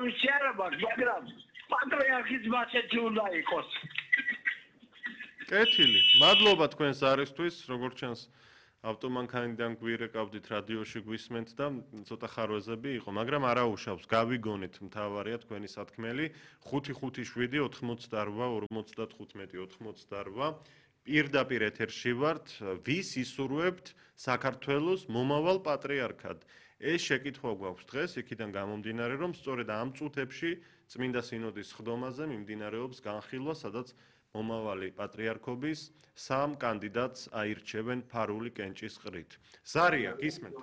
თავისი არა მაქვს, მაგრამ პატრიარქის მასეთი უნდა იყოს. კეთილი. მადლობა თქვენს არისთვის, როგორც ჩანს ავტომანქანიდან გვირეკავდით რადიოში გვისმენთ და ცოტა ხარვეზები იყო, მაგრამ არა უშავს. გავიგონით, მთავარია თქვენი სათქმელი 557 88 55 88. პირდაპირ ეთერში ვართ, ვის ისურვებთ საქართველოს მომავალ პატრიარქად. ეს შეკითხვა გვაქვს დღეს, იქიდან გამომდინარე, რომ სწორედ ამ წუთებში წმინდა სინოდის ხდომაზე მიმდინარეობს განხილვა, სადაც მომავალი პატრიარქობის 3 კანდიდატს აირჩევენ ფარული კენჭის ყრით. ზარია, გისმენთ?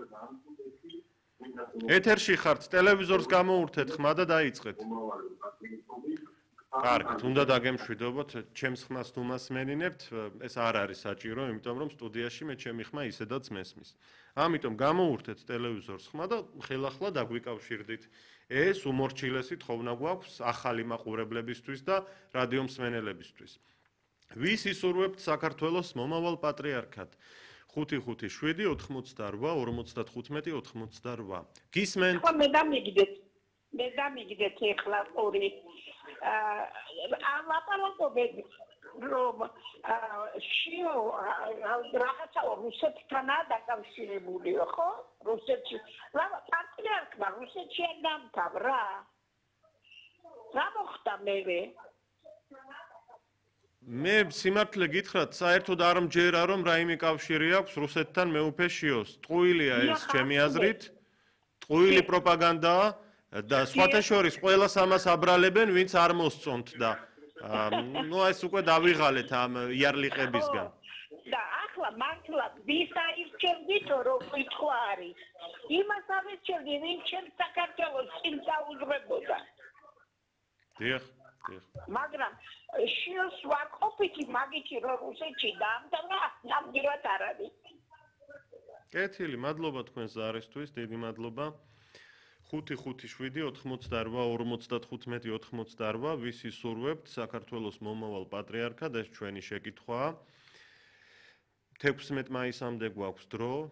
ეთერში ხართ, ტელევიზორს გამოურთეთ, ხმა და დაიწყეთ. კარგით, უნდა დაგემშვიდობოთ, ჩემს ხმას თუ მასმენინებთ, ეს არ არის საჭირო, იმიტომ რომ სტუდიაში მე ჩემი ხმა ისედაც მესმის. ამიტომ გამოურთეთ ტელევიზორს ხმა და ხელახლა დაგვიკავშირდით. ეს უმორჩილესი თხოვნა გვაქვს ახალი მაყურებლებისთვის და რადიო მსმენელებისთვის. ვის ისურვებთ საქართველოს მომავალ პატრიარქად? 557 88 55 88. გისმენთ? მე დამიგდეთ ეხლა ორი ლაპარაკობენ რომ შიო რაღაცა რუსეთთანაა დაკავშირებული ხო? რუსეთში პატრიარქმა რუსეთში არ დამთავრა? რა მოხდა მე სიმართლე გითხრათ, საერთოდ არ მჯერა რომ რაიმე კავშირი აქვს რუსეთთან მეუფე შიოს. ტყუილია ეს ჩემი აზრით. ტყუილი პროპაგანდაა და სხვათა შორის ყველას ამას აბრალებენ, ვინც არ მოსწონთ და ეს უკვე დავიღალეთ ამ იარლიყებისგან. და ახლა მართლა ვის აირჩევდით რომ კითხვა არის? იმას აირჩევდი, ვინც ჩემს საქართველოს წინ დაუძღვებოდა. დიახ. მაგრამ შიოს ვაკოფითი მაგითი რომ რუსეთში დაამთავრა, ნამდვილად არ არის. კეთილი, მადლობა თქვენს ზარისთვის, დიდი მადლობა. 557 88 55 88. ვის ისურვებთ საქართველოს მომავალ პატრიარქად, ეს ჩვენი შეკითხვაა. 16 მაისამდე გვაქვს დრო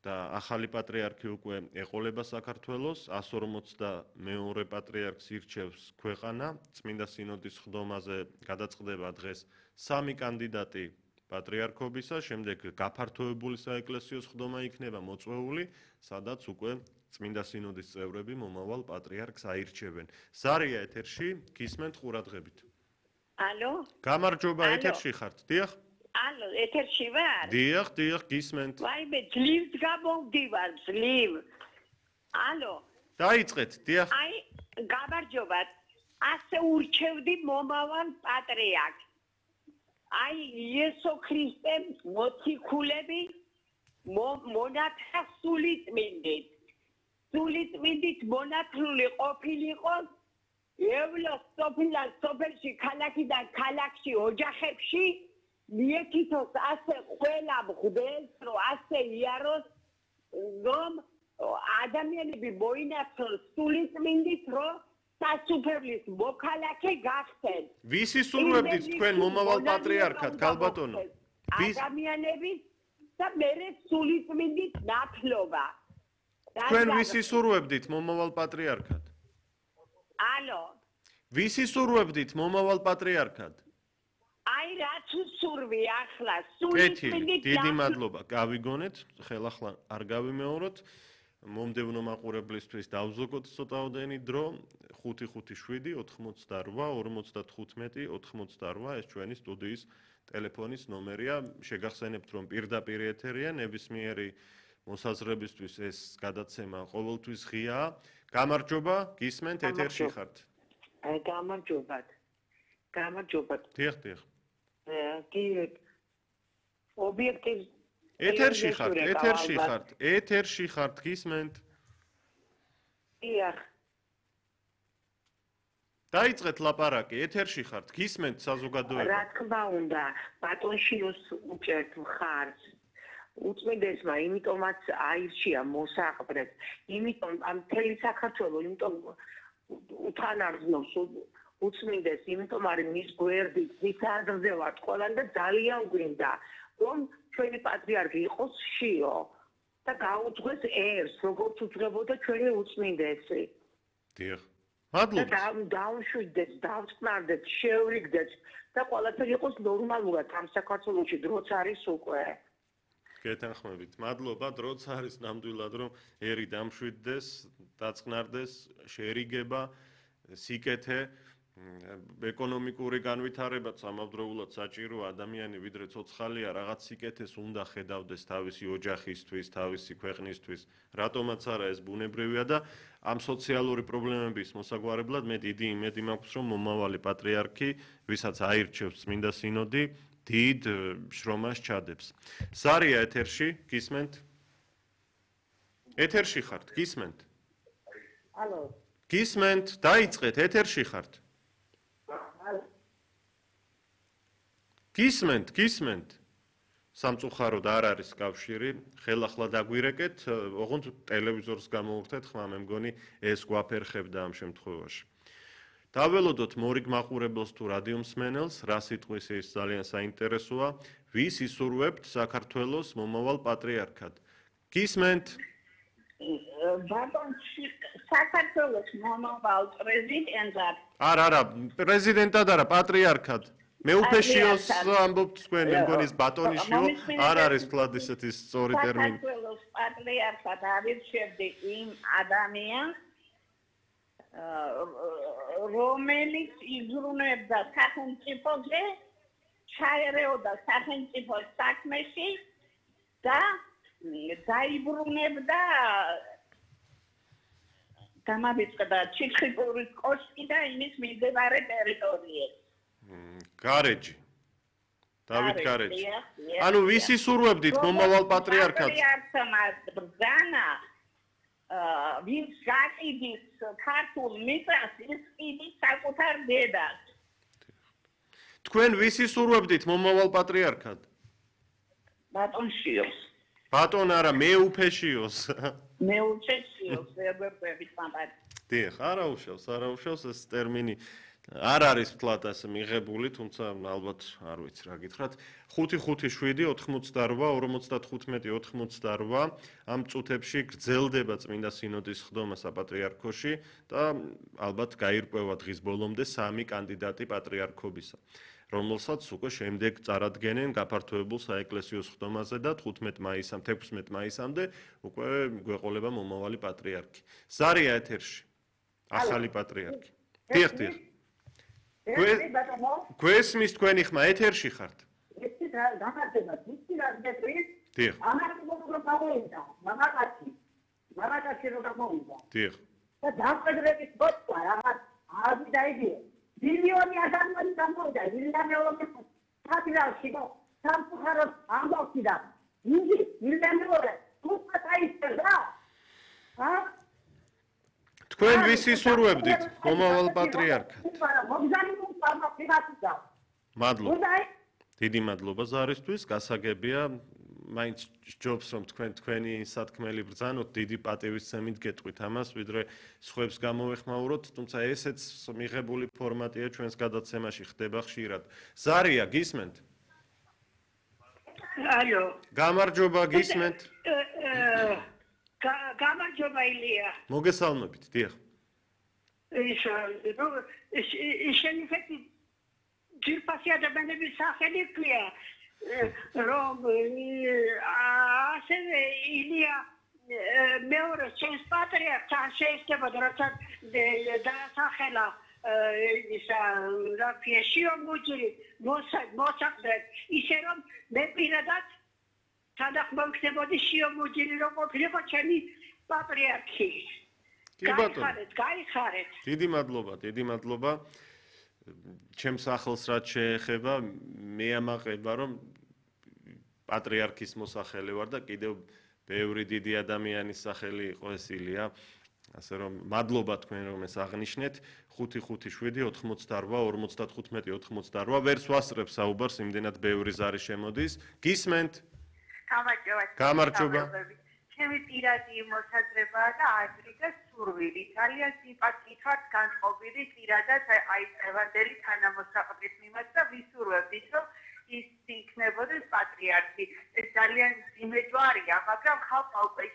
და ახალი პატრიარქი უკვე ეყოლება საქართველოს, 142 პატრიარქს ირჩევს ქვეყანა, წმინდა სინოდის ხდომაზე გადაწყდება დღეს 3 კანდიდატი პატრიარქობისა, შემდეგ გაფართოებული საეკლესიო ხდომა იქნება მოწვეული, სადაც უკვე წმინდა სინოდის წევრები მომავალ პატრიარქს აირჩევენ. ზარია ეთერში, გისმენთ ყურადღებით. ალო? გამარჯობა, ეთერში ხართ, დიახ? ალო, ეთერში ვარ? დიახ, გისმენთ. ვაიმე, ძლივს გამოვდივარ, ძლივ. ალო? დაიწყეთ, დიახ. აი, გამარჯობათ. ასე ურჩევდი მომავალ პატრიარქს. აი, იესო ქრისტე მოციქულები მონათხრა სულიწმინდით. სულიწმინდით მონათლული ყოფილიყო ევლოს სოფელში, ქალაქიდან ქალაქში, ოჯახებში მიეკითხოს ასე ყველა მღვდელს, რომ ასე იაროს, რომ ადამიანები მოინათლონ სულიწმინდით, რომ სასუფეველის მოქალაქე გახდნენ. ვის ისურვებდით თქვენ მომავალ პატრიარქად, ქალბატონო? ადამიანების და მერე სულიწმინდით ნათლობა. თქვენ ვის ისურვებდით მომავალ პატრიარქად? ალო? ვის ისურვებდით მომავალ პატრიარქად? აი რაც უსურვი ახლა სულიწმინდით. დიდი მადლობა, გავიგონეთ, ხელახლა არ გავიმეოროთ. მომდევნო მაყურებლისთვის დავზოგოთ ცოტაოდენი დრო 557 88 55 88. ეს ჩვენი სტუდიის ტელეფონის ნომერია. შეგახსენებთ, რომ პირდაპირ ეთერია, ნებისმიერი მოსაზრებისთვის ეს გადაცემა ყოველთვის ღიაა. გამარჯობა, გისმენთ, ეთერში ხართ. გამარჯობათ. დიახ. კი ობიექტივ ეთერში ხართ, გისმენთ. დიახ. დაიწყეთ ლაპარაკი, ეთერში ხართ, გისმენთ საზოგადოება. რა თქმა უნდა, ბატონშიოს უჭერთ მხარს. უწმინდესმა, იმიტომაც აირჩია მოსაყბრეთ, იმიტომ ამ მთელი საქართველო, იმიტომ უთანარგზნობს უწმინდეს, იმიტომ არის მის გვერდით, მის აზრზევად ყველან და ძალიან გვინდა, რომ ჩვენი პატრიარქი იყოს შიო და გაუძღვეს ერს, როგორც უძღვებოდა ჩვენი უწმინდესი. დიახ. მადლობა. დაუშვიდეთ, დავწყნარდეთ, შევრიგდეთ და ყველაფერი იყოს ნორმალურად ამ საქართველოში, დროც არის უკვე. გეთანხმებით. მადლობა, დროც არის ნამდვილად, რომ ერი დამშვიდდეს, დაწყნარდეს, შეერიგება, სიკეთე, ეკონომიკური განვითარებაც ამავდროულად საჭირო ადამიანი ვიდრე ცოცხალია, რაღაც სიკეთეს უნდა ხედავდეს თავისი ოჯახისთვის, თავისი ქვეყნისთვის. რატომაც არა ეს ბუნებრივია და ამ სოციალური პრობლემების მოსაგვარებლად მე დიდი იმედი მაქვს, რომ მომავალი პატრიარქი, ვისაც აირჩევს წმინდა სინოდი, დიდ შრომას ჩადებს. სარია ეთერში, გისმენთ? ეთერში ხართ, გისმენთ? ალო. გისმენთ, დაიწყეთ, ეთერში ხართ. გისმენთ. სამწუხაროდ არ არის კავშირი, ხელახლა დაგვირეკეთ, ოღონდ ტელევიზორს გამოვურთეთ, ხმა მე მგონი ეს გვაფერხებდა ამ შემთხვევაში. დაველოდოთ მორიგ მაყურებელს თუ რადიო მსმენელს, რა სიტყვის ის ძალიან საინტერესოა, ვის ისურვებთ საქართველოს მომავალ პატრიარქად. გისმენთ? ბატონში საქართველოს მომავალ პრეზიდენტად. არა, პრეზიდენტად არა, პატრიარქად. მე უფეშიოს ამბობთ თქვენ, მე მგონი ეს ბატონიშიო არ არის თლად ისეთი სწორი ტერმინი. საქართველოს პატრიარქად არჩევდი იმ ადამიანს, რომელიც იზრუნებდა სახელმწიფოზე, ჩაერეოდა სახელმწიფოს საქმეში და დაიბრუნებდა დამავიწყდა ჩიხიპურის კოშკი და იმის მიმდებარე ტერიტორიები. გარეჯი. დავით გარეჯი. ანუ ვის ისურვებდით მომავალ პატრიარქად? პატრიარქმა ბრძანა ვინც გაკიდის ქართულ მიწას, ის კიდის საკუთარ დედას. თქვენ ვის ისურვებდით მომავალ პატრიარქად? ბატონშიოს. ბატონ არა, მე უფეშიოს. მე უჩესიოს, ვერბერბებით მამად. დიახ, არა უშავს ეს ტერმინი. არ არის თლად ასე მიღებული, თუმცა ალბათ არ ვიცი რა გითხრათ. 5-5-7-85-55-98 ამ წუთებში გრძელდება წმინდა სინოდის ხდომა საპატრიარქოში და ალბათ გაირკვევა დღის ბოლომდე 3 კანდიდატი პატრიარქობისა, რომელსაც უკვე შემდეგ წარადგენენ გაფართოებულ საეკლესიო ხდომაზე და 16 მაისამდე უკვე გვეყოლება მომავალი პატრიარქი. სარია ეთერში. ახალი პატრიარქი. დიახ. გვესმის თქვენი ხმა ეთერში ხართ? ეს გამარჯობა, ვიცი რა გეტყვით? დიახ. ამაში როგორ გამოვიდა? მამაკაცი როგორ გამოვიდა? დიახ. და დაკვედრების ბოჭკვა რაღაც არის დაიდი. მილიონი ადამიანი გამოვიდა, მილიონი პატრიარქი და სამწუხაროდ ამბობდი და იგი მილიონი თუმცა ისწრა. თქვენ ვის ისურვებდით მომავალ პატრიარქად? მადლობა. დიდი მადლობა ზარისთვის, გასაგებია, მაინც ჯობს რომ თქვენი სათქმელი ბრძანოთ, დიდი პატივისცემით გეტყვით ამას, ვიდრე სხვებს გამოვეხმაუროთ, თუმცა ესეც მიღებული ფორმატია ჩვენს გადაცემაში ხდება ხშირად. ზარია, გისმენთ? ალო. გამარჯობა, გისმენთ? გამარჯობა ილია. მოგესალმებით, დიახ. შენი ფეთი ჯირფასი ადამიანების სახელი ქვია, რომ ასევე ილია მეორე ჩემს პატრიარქს არ შეიძლება როცა დაასახელა ისა რაფია შიომუჯი მოსაყდრეთ ისე რომ მე პირადად თანახმოვქნებოდი შიომუჯილი რომ ყოფილიყო ჩემი პატრიარქი. გაიხარეთ. დიდი მადლობა. ჩემს ახლს რაც შეეხება, მე ამაყება რომ პატრიარქის მოსახელე ვარ და კიდევ ბევრი დიდი ადამიანის სახელი იყო ეს ილია. ასე რომ მადლობა თქვენ რომ ეს აღნიშნეთ. 5-5-7-88-55-98 ვერც ვასწრებ საუბარს, იმდენად ბევრი ზარი შემოდის. გისმენთ? გამარჯობა. ჩემი პირადი მოსაზრებაა და აზრი და სურვილი. ძალიან სიმპათიით ვარ განწყობილი პირადად აი ევანდელი თანამოსაყდრის მიმართ და ვისურვებდით რომ ის იქნებოდეს პატრიარქი. ეს ძალიან ძიმე ჯვარია, მაგრამ ხალხმა უკვე